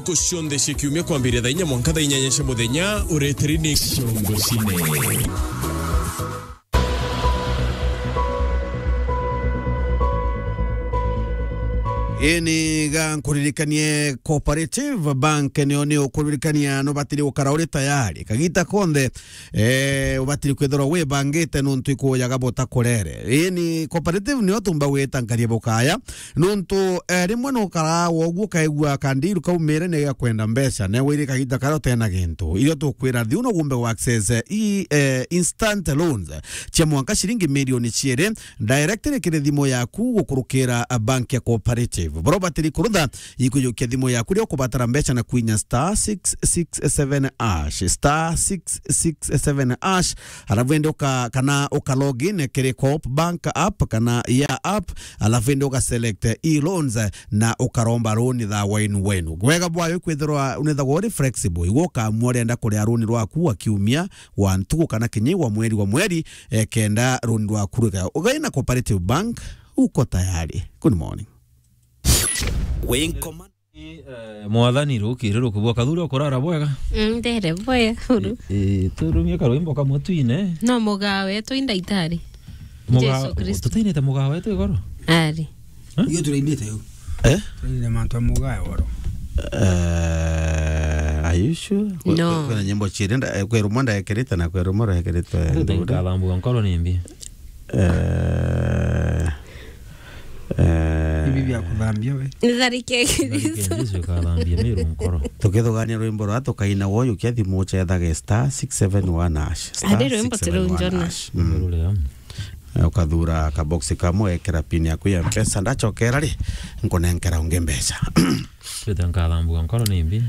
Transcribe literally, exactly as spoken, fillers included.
Ntuku cionthe cia kiumia kwambiria thaa inya mwanka thaa inyanya cia muthenya, ureteri ni Ciongo Cine. Ini ga nkuririkanie Cooperative Bank nio ni ukuririkania no batiri gukara uri tayari kagita konthe, eh, ubatiri kwithirwa wibangite nuntu ikuujaga buta kurere. Ini Cooperative nio tumba gwita nkaria bukaya. Nuntu, eh, rimwe nukaraa woguo ukaigua kandiru kaumire ni gakwenda mbeca, na wiri kagiita karia utena gintu. Irio tukwira thiu no gumbe wa access, eh, i, eh, instant loans cia mwanka ciringi milioni ciiri, directly kiri thimu yaku gukurukira, eh, bank ya Cooperative. Bro batiri kurutha, ikujukia thimu yaku ria ukubatara mbeca na kwinya star six six seven hash, star six six seven hash, alafu ende uka-, kana uka log in kiri Coop Bank app kana ya app, alafu indi uga select e-loans na ukaromba loan thaa wenu wenu. Wega bwayo kwithirwa unethagwa uri flexible, igwe ukamua urenda kuria loan rwaku wa kiumia, wa ntuku kana kinya wa mweri wa mweri, eh, kenda loan rwaku rwika. Ugaina Cooperative Bank, uko tayari. Good morning. Win command. Eh, mwathani, rukiri rukubwa, Kathuri, ukurara bwega? Mm, ndere bwega, uru. Eh, eh, turumie karwimbo kamwe twine. No mugaa wetu i ndaitari. Mugaa, Jesu Kristo. Tutainite mugaa wetu igoro? Ari. Eh? Iyo turainite u. Eh? Turainite mantu a mugaa woro. Eh, are you sure? Kwe-, No. Kwe-, kwina nyimbo ciiri nda-, eh, kwi rumwe ndaekirite na kwi rumwe ruekirite. Nkathambua nkoro ni mbi. Eh, eh. Ibi bia kuthambia we. Nitharike Jesu. Nitharike Jesu ikathambia Meru nkoro. Tukithugania rwimbo rwa tukaina woyu kia thimu uchethage star six seven one hash. Star Ari rwimbo six seven one hash. Mm. Rule ya. Eh, ukathura kaboksi kamwe, ekira pin yaku ya Mpesa, ndachokera ri, nkunenkera ungi mbeca. Twite nkathambua nkoro ni mbi.